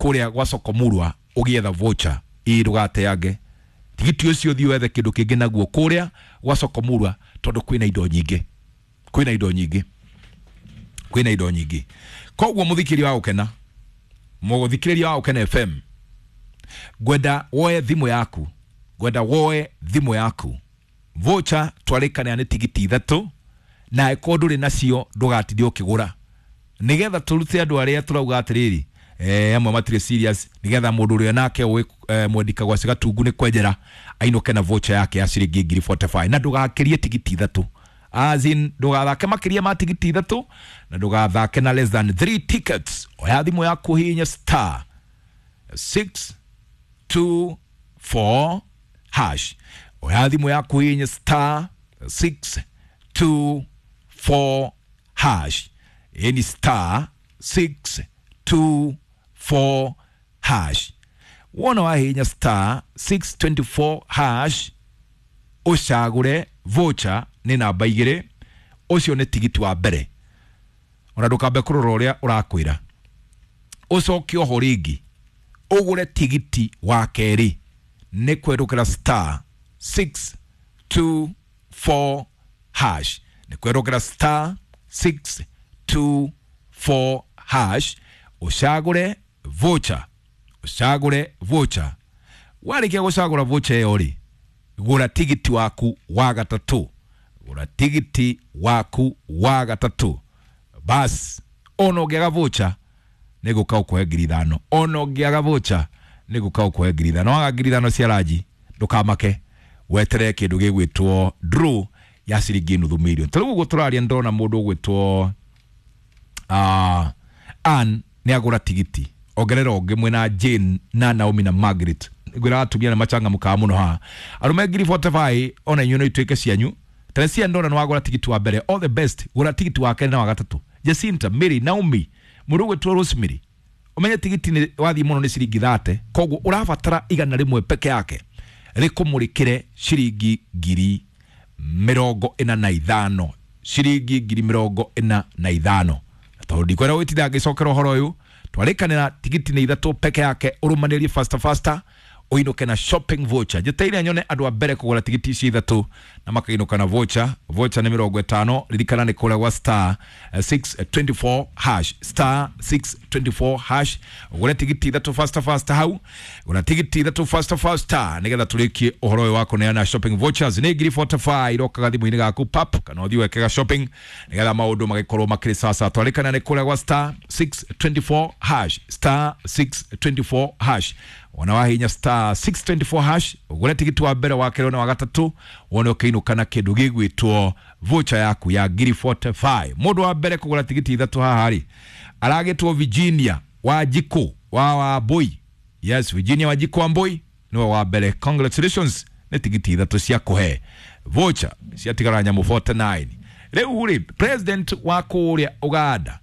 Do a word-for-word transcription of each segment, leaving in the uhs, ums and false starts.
Kuria gwa Sokomurwa ugietha voucher ii ndugateange tigiti ucio thiĩ wethe kindu kingi naguo kuria gwa Sokomurwa tondu kwina indo nyingi, kwina indo nyingi, kwina indo nyingi. Koguo muthikiri wa gukena, muthikiriria wa Gukena F M, ngwenda woe thimu yaku, ngwenda woe thimu yaku. Voucher twarikana ni tigiti ithatu na eko nduri nacio ndugatinde ukigura nigetha turute andu aria turauga atiriri eh amwe matire serious, nigetha mundu uria nake wi eh, mwendika gwa cigatungu ni kwenjera ainuke na voucher yake ya ciringi ngiri forty-five na ndugakirie tigiti ithatu, as in ndugathake makiria ma tigiti ithatu na ndugathake na less than three tickets. Oya thimu yaku hinya star six two four hash. Oya thimu yaku hinya star six two four hash. Ni star six two four hash. Wona wahinya star six twenty four hash ucagure voucher ni namba igiri, ucio ni tigiti wa mbere. Ona ndukambe kurora uria urakwira, ucoke oho ringi ugure tigiti wa keri ni kwerukira star six two four hash, ni kwerukira star six two four hash ucagure voucher, ucagure voucher. Warikia gucagura voucher iyo ri, gura tigiti waku wa gatatu, gura tigiti waku wa gatatu. Bas ono ngiaga voucher ni guka ukuhe ngiri ithano, ono ngiaga voucher ni guka ukuhe ngiri ithano. Waga ngiri ithano cia ranji ndukamake, wetere kindu gigwitwo draw ya ciringi nuthu milioni. Tariu uguo turaria ndona mundu ugwitwo ah Ann ni agura tigiti, ongerera ungi mwena Jane na Naomi na Margaret. Ngwira atumia na machangamukaga muno haha arume ngiri forty-five ona inyuĩ no ituĩke cianyu. Teresia ndona ni wagura tigiti wa mbere, all the best. Gura tigiti wa kerĩ na wa gatatu. Jacinta, Mary, Naomi, mũndũ ũgwĩtwo Rosemary, umenye tigiti ni wathi muno ni ciringi thate, koguo urabatara igana rimwe peke yake rikumurikire ciringi ngiri mirongo ina na ithano, ciringi ngiri mirongo ina na ithano. Tondu ndikwenda gwĩtinda ngĩcokera ũhoro ũyũ, twarĩkanĩra tigiti nĩ ithatũ peke yake, ũrũmanĩrie faster faster uinuke na shopping voucher. Njeteire nyone andu a mbere kugura tigiti ici ithatu na makainuka na voucher. Voucher ni mirongo itano, ririkana ni kuria gwa star six twenty four hash, star six twenty four hash. Ugure tigiti ithatu faster faster hau, gura tigiti ithatu faster faster nigetha turikie uhoro uyu wa kuneana shopping vouchers. Ni ngiri forty-five irokaga thimu-inĩ gaku pap, kana uthii wekega shopping nigetha maundu magikorwo makiri sasa. Twarikana ni kuria gwa star six twenty four hash, star six twenty four hash. Ona wahinya star six twenty four hash ugure tigiti wa mbere wa kerĩ na wa gatatu wone ukiinuka na kindu gigwitwo voucher yaku ya ngiri forty-five. Mundu wa mbere kugura tigiti ithatu haha ri aragitwo Virginia Wanjiku wa Wambui. Yes, Virginia Wanjiku Wambui niwe wa mbere. Congratulations, ni tigiti ithatu cia kuhe voucher ciatigara nyamu forty-nine. Riu ri president wa kuria Uganda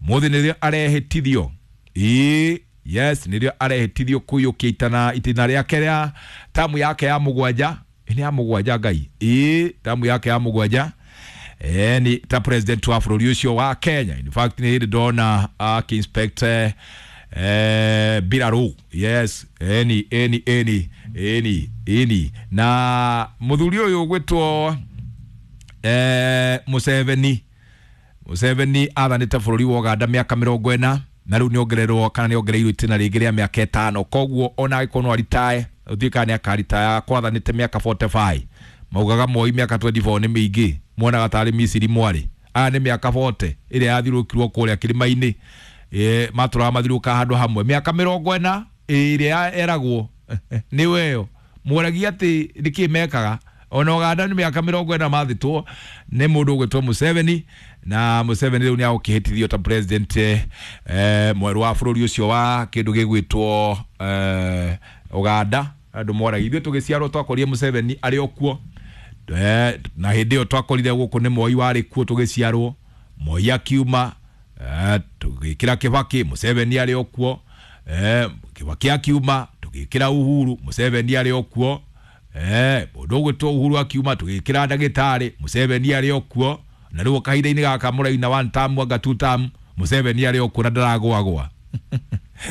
muthi nirio arehitithio ii. Yes, nirio arehitithio kuyukia itana itina riake ria tamu yake ya mugwanja, ni ya mugwanja ngai ii, tamu yake ya mugwanja eh ni ta president wa bũrũri ucio wa Kenya. In fact ni ndona aki inspector eh Biraru. Yes, eni eni eni eni eni na muthuri uyu gwitwo eh Museveni. Museveni athanite bũrũri wa Uganda miaka mirongo ĩna na riu niongererwo kana niongereirwo itina ringi ria miaka ĩtano. Koguo ona agĩkorwo no aritae ũtuĩke kana nĩakaritaya kwathanĩte miaka forty-five. Maugaga Moi miaka twenty-four nĩ mĩingĩ, muonaga tarĩ Misiri mwarĩ. Aya nĩ miaka forty ĩrĩa yathirũkirwo kũrĩa kĩrĩma-inĩ, eh matũraga mathirũka handũ hamwe miaka mirongo ĩna ĩrĩa eragwo nĩ weyo mworagia atĩ nĩkĩ mekaga. Ona Uganda nĩ miaka mirongo ĩna mathitwo nĩ mũndũ ũgwĩtwo Museveni, na Museveni rĩu nĩagũkĩhĩtithio ta president eh mwerũ wa bũrũri ũcio wa kĩndũ gĩgwĩtwo eh Uganda. Andũ moragia ithuĩ tũgĩciarwo twakorire Museveni arĩ o kuo, eh na hĩndĩ ĩyo twakorire gũkũ nĩ Moi warĩ kuo tũgĩciarwo, Moi akiuma, eh tũgĩkĩra Kibaki, Museveni arĩ o kuo, eh Kibaki akiuma tũgĩkĩra Uhuru, Museveni arĩ o kuo, eh mũndũ ũgwĩtwo Uhuru akiuma tũgĩkĩra ndagĩtarĩ, Museveni arĩ o kuo, na rĩu kahinda-inĩ gaka mũraina one term anga two term, Museveni arĩ o kuo na ndaragũagũa.